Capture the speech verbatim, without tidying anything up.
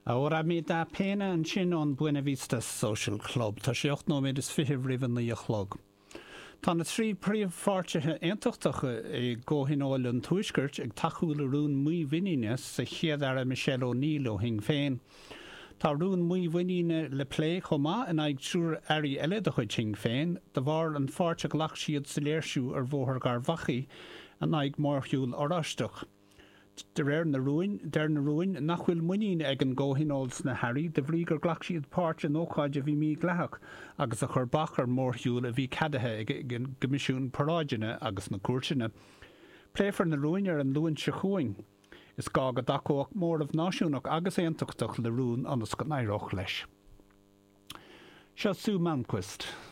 Ahora me da pena ansin ón Buena Vista Social Club Tá sé ocht nóiméad is fiche roimh a naoi a chlog. Tá na trí príomhpháirtithe aontachtacha i gComhthionól an Tuaiscirt ag tacú le rún mímhuiníne sa Chéad-Aire Michelle O'Neill ó Shinn Féin. Tá rún mímhuiníne le plé chomh maith in aghaidh triúr airí eile de chuid Shinn Féin, de bharr an pháirt a ghlac siad sa léirsiú ar Bhóthar Gharbhachaidh in aghaidh mórshiúl Oráisteach. De réir na rúin, deir na rúin nach bhfuil muinín ag an gComhthionól sna hairí de bhrí gur ghlac siad páirt in ócáid a bhí mídhleathach agus a chuir bac ar mhórshiúl a bhí ceadaithe ag an gCoimisiún Paráideanna agus na cúirteanna. Pléifear na rúin ar an Luan seo chugainn. Is gá go dtacódh móramh náisiúnach agus aontachtach le rún ionas go n-éireodh leis. Seo Sue Malmquist.